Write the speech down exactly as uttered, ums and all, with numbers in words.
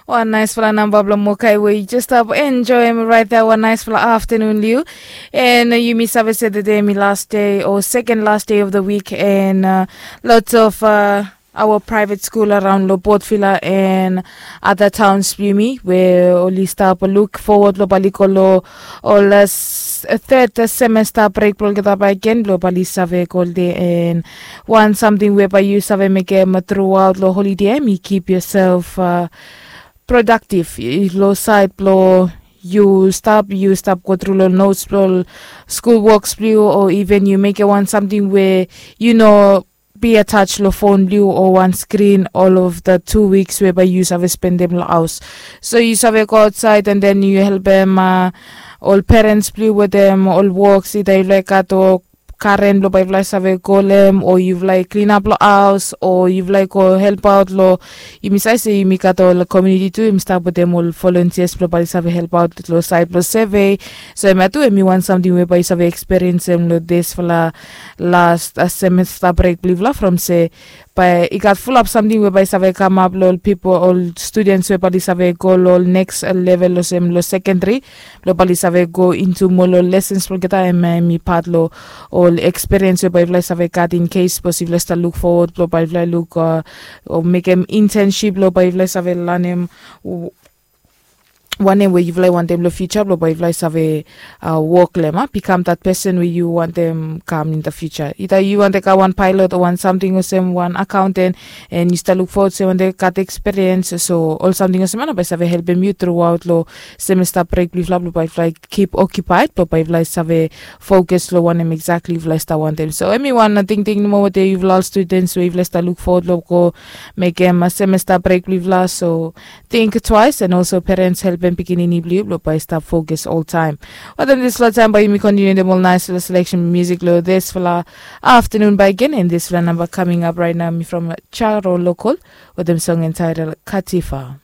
Wan naispela namba blong mokai we yu jes stap enjoim raet ya, wan naispela aftanun liu. And uh, yumi save se tede mi last day o second last day of the week, and uh, lots of uh, our private school around lo Port Vila and other towns blong yumi we oli stap look forward lo bae oli go lo ol uh, s- uh, third uh, semester break blong olgeta bae gen blong bae oli save go holiday. And wan samting we bae yu save mekem throughout lo holiday, em yu keep yourself uh, productive i- lo sait blo yu stap yu stap go tru lo notes blo school works blong yu, o even yu mekem wan samting we yu no be attach lo phone blong yu o wan screen all of the two weeks we bae yu save spendem lo haus. So yu save go outside and then yu helpem uh, ol parents blong yu wetem ol works, ida yu laik gat o karen blo bae yufala i save go lem, o yufala i klinap lo haus, o yufala i go helpaot lo, yumi save se yumi gat ol komuniti tu yumi stap wetem ol volunteers blo bae oli save helpaot lo sait blo survey. So hemia tu hemi wan samting we bae yu save eksperiensem lo disfala last uh, semester brek blong yufala from se bae i gat fulap samting we bae i save kamap lo ol pipol, ol students we bae oli save go lo ol next uh, level olsem lo secondary, blo bae oli save go into moa lo lessons blo olgeta, em em i pat lo ol experience we bae yufala i save gat in case sapos yufala i stap look forward blo bae yufala i luk uh, o mekem internship blo bae yufala i save lanem w- wanem we yufala i wantem lo future blo bae yufala i save uh, wok lem a become that person we yu wantem kam in the future. Ida yu wantem kam wan pilot o wan samting olsem wan accountant, and yu stap look forward se wantem gat experience, so ol samting olsem ya na bae i save helpem yu throughout lo semester break blong yufala blo bae yufala i keep occupied blo bae yufala i save focus lo wanem exactly yufala i stap wantem. So hemi wan uh, tingting nomo wetem yufala ol students we yufala i stap look forward lo go mekem uh, semester break blong yufala. So think twice, and also parents helpem pikinini blong yu blo bae i stap focus oltaem. Wetem disfala taem bae yumi kontiniuem ol naispela selection music lo disfala aftanun bae gen, and disfala namba coming up raet nao mi from Charo Local wetem song entitled Katifa.